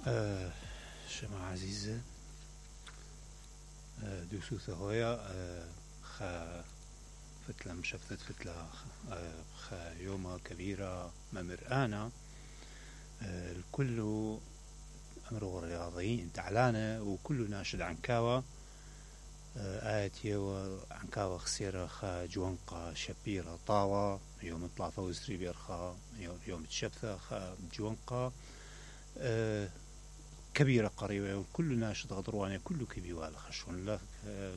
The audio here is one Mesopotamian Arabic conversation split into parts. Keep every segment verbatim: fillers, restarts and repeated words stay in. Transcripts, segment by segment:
آه شما عزيزة آه دوسوثة هويا آه خا فتلة مشفتت فتلة آه خا يومة كبيرة ممرآنا آه الكل أمره رياضيين تعلانة وكل ناشد عن كاوة آه آيتي وعن كاوة خسيرة خا جوانقا شبيرة طاوة يوم طلافة وزري بيرخا يوم تشبثة خا جوانقا آه كبيرة قريبة وكل ناشط غضرواني كله كبيوال خشون لا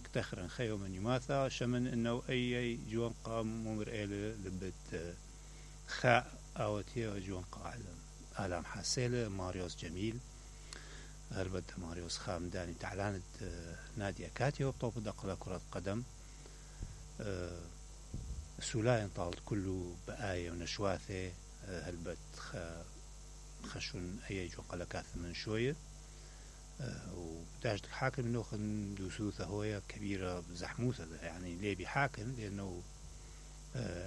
كتخرن خيو من يماثا شمن انه اي جوان قام ممر إلى لبت خاء اوتي جوان قاعدة آلام حاسيلة ماريوس جميل هربت ماريوس خام داني تعلانت نادية كاتيو وبطوب دقلة كرة قدم سولاين طالت كله بآية ونشواثة هربت خشون اي جوان قلة كاث من شوية وداجت الحاكم انه خن دوسوثة هوية كبيرة زحموثة يعني ليه بحاكم لانه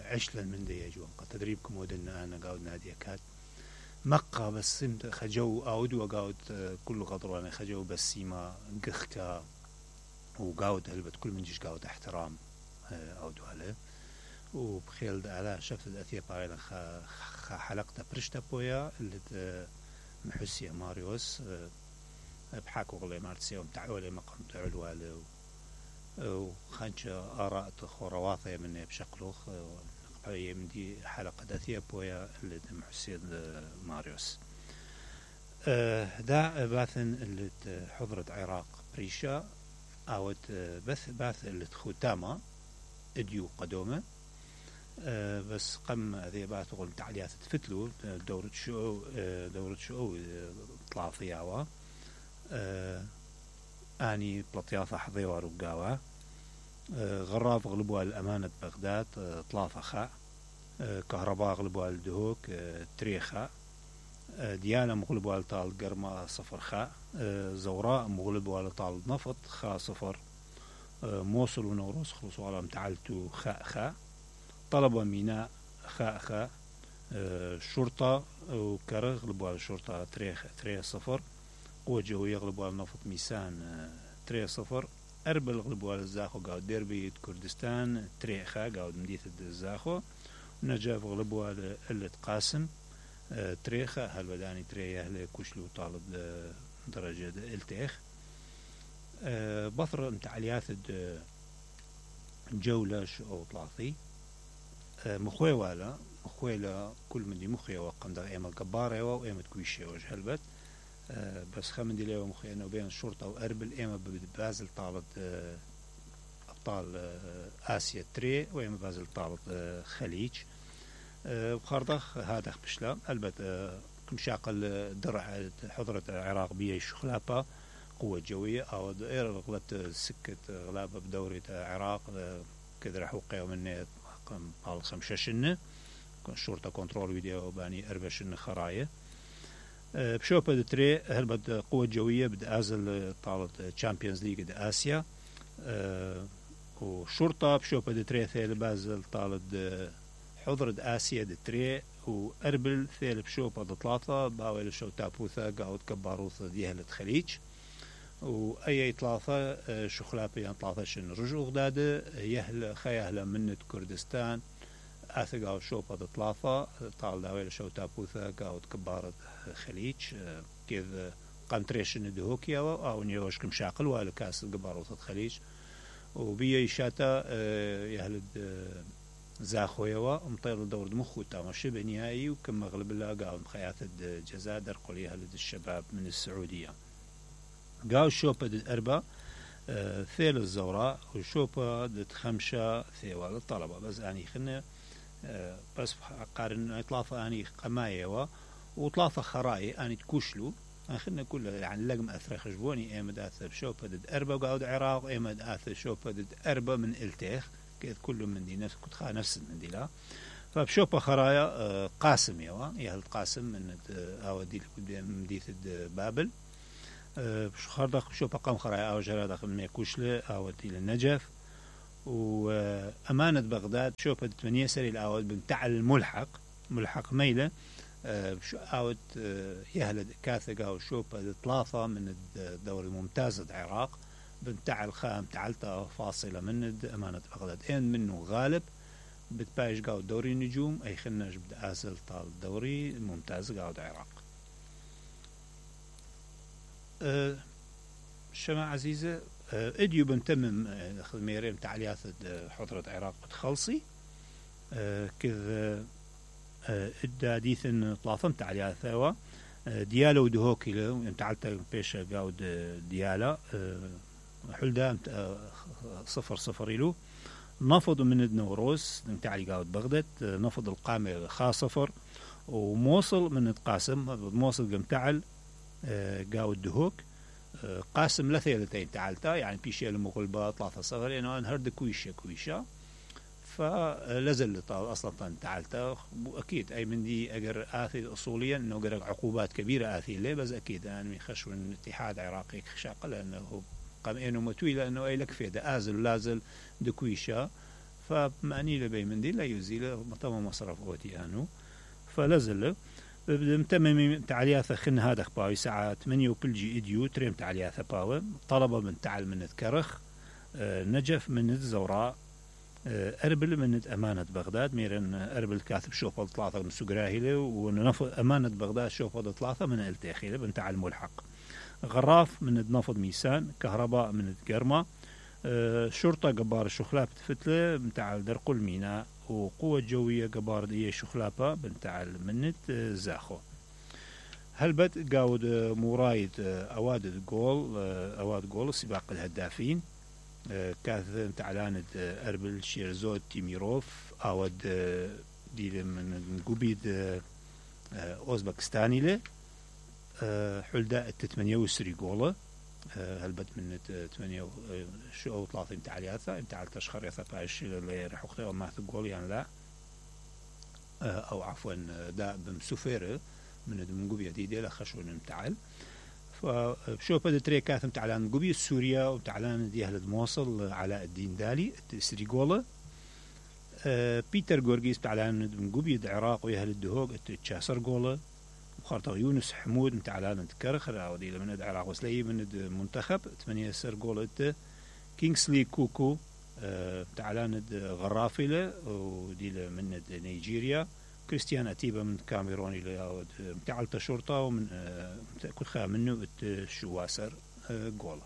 عشلا من دي جوان تدريبكم ودنا انا قاود نادية كات مقا بس خجو اود وقاود كل غضرانة خجو بس سيما قخكا وقاود هلبت كل من جيش قاود احترام اود عليه وبخيل على شفت الاثير بايلا خا حلقة برشتا بويا اللي محسية ماريوس بحاكو غلي مارتسي ومتعولي مقام تعولوالي وخانش آراء خرواثة مني بشكلوخ نقبعي من دي حلقة داثية بويا اللي محسية ماريوس دا باثن اللي حضرت عراق بريشا او بث باث اللي ختامة اديو قدومة أه بس قم ذي بات غل تعليات تفتلو دورة شو دورة شو طلع فيها أه اني بلطيافة حظيوة رقاوة أه غراف غلبوا الامانة بغداد أه طلافة خاء أه كهرباء غلبوا الدهوك أه تريخاء أه ديانة مغلبوا لطال قرمة صفر خاء أه زوراء مغلبوا لطال نفط خاء صفر أه موصل ونوروس خلصوا على متعلتو خاء خاء طلبة ميناء خاء خاء أه شرطة وكرغ غلبوا على الشرطة تريخ تريخ صفر قوة جوية غلبوا على نفط ميسان أه تريخ صفر أربل غلبوا على الزاخو قاود ديربي كردستان تريخ خاء قاود مديث الزاخو نجاف غلبوا على قلة قاسم أه تريخ هل بداني تريخ لكوشلو طالب أه درجة التيخ أه بطر متعليات جولة شو طلاثي مخوي والا مخوي لا كل من دي مخوي وقم ده ايما قبارة وايما كويشة وجه هلبت أه بس خمن دي ليه مخوي انه بين الشرطة واربل ايما ببازل طالت أه ابطال أه اسيا تري وايما بازل طالت أه خليج أه بخارضخ هذا بشلا هلبت أه كمشاقل درع حضرة العراق بيه شخلابة قوة جوية او دائرة غلبت سكة غلابة بدورة العراق أه كذا حوقي ومن قال خمششنة الشرطة كنترول فيديو باني أربشن خراية أه بشوفة دتري هلبت قوة جوية بد أزل طالت تشامبيونز ليج د آسيا أه وشرطة بشوفة دتري ثيل بازل طالت حضرة آسيا دتري وأربل ثيل بشوفة دطلاطة باويل شو تابوثة قاود كباروثة ديهلة خليج وأي ثلاثة شخلابي ثلاثة شن رجوع غدادة يهل خيهلا من كردستان أثقاو شوبة ثلاثة طال داويل شو تابوثة قاود كبارة خليج كذا قنتريشن دهوكيا أو نيوش كمشاقل ولا كاس كباروثة خليج وبيا شاتا يهلد زاخويوا مطير دور مخو تام شبه نهائي وكم مغلب الله قاود خيات الجزائر درقوا يهلد الشباب من السعودية قاو شوبة دد أربعة آه ثيل الزوراء وشوبة دد خمسة ثيوال الطلبة بس أني خلنا آه بس قارن إطلافة أني قماية وطلافة خراي أني تكوشلو خلنا كل يعني لقم أثر خجبوني إيمد أثر شوبة دد أربعة وقاود عراق إيمد أثر شوبة دد أربعة من إلتيخ كذا كله من دي نفس كنت خا نفس من دي لا فبشوبة خرايا آه قاسم يوا يهل قاسم من أو دي مديث بابل بش خردق شو بقام خرايا أو جرادة من ميكوشلة أو إلى النجف وأمانة بغداد شو بدت من يسري الأول بمتعل الملحق ملحق ميلة شو اوت يهلد كاثقة وشوبة ثلاثة من الدوري الممتاز العراق بنتاع الخام تعلتا فاصلة من أمانة بغداد إن منه غالب بتبايش قاو دوري النجوم أي خناش بدأ آسل طال دوري الممتاز قاو العراق. أه شما عزيزة أه اديو بنتمم خدميرين تعليات حضرة عراق بتخلصي أه كذا ادى ديثن طلافم تعليا ثوا ديالا ودهوكي له تعلت بيش قاود ديالا حلدا صفر صفر له نفض من النوروز تعلي قاود بغداد نفض القامة خا صفر وموصل من القاسم موصل قم تعل قاود دهوك قاسم لثيلتين تعلتا يعني بيشي المغلبة ثلاثة صفر لأنه انهرد كويشة كويشة فلازل اصلا تعالتا اكيد اي من دي اجر اثي اصوليا انه قرق عقوبات كبيره اثي ليه بس اكيد يعني خشو من اتحاد عراقي خشاق لانه قام انه متوي لانه اي لك فيدا ازل لازل دكويشا فمعني لبي من دي لا يزيل طبعا مصرف اوتي انو فلازل متمم تعلياث خن هذا باوي ساعه ثمانية وبلجي اديو تريم تعلياث باوي طلبه من تعال من الكرخ نجف من الزوراء أربل من أمانة بغداد ميرن أربل كاتب شوفل ثلاثة من سجراهيله ونفض أمانة بغداد شوفل ثلاثة من التاخيله بنتاع الملحق غراف من نفض ميسان كهرباء من الجرمة أه شرطة جبار الشخلاب فتلة بنتاع درق الميناء وقوة جوية جبار دي شخلابة بنتاع منت أه زاخو هلبت جاود مرايد أواد الجول أه أواد جول سباق الهدافين كاث تعلانت أربل شيرزوت تيميروف أود دي من قبيد أوزبكستاني له حلدا التثمانية وسري جولة هلبت من ثمانية شو أو ثلاثين تعلياثة انت تشخر يثباش اللي رح أختي وما تقول يعني لا أو عفوا دا بمسوفير من من قبيد دي دي لخشون متعال فشوف هذا تري كاثم تعلان قبي سوريا وتعلان دي أهل الموصل علاء الدين دالي سريغولا أه بيتر جورجيس تعلان من قبي العراق ويا أهل الدهوق تشاسر جولا وخارطة يونس حمود تعلان كرخ راودي من العراق وسلي من المنتخب ثمانية سر جولا كينغسلي كوكو أه تعلان غرافلة ودي من نيجيريا كريستيان أتيبا من كاميروني اللي تعلت شرطة ومن كل خا منه الشواسر جولا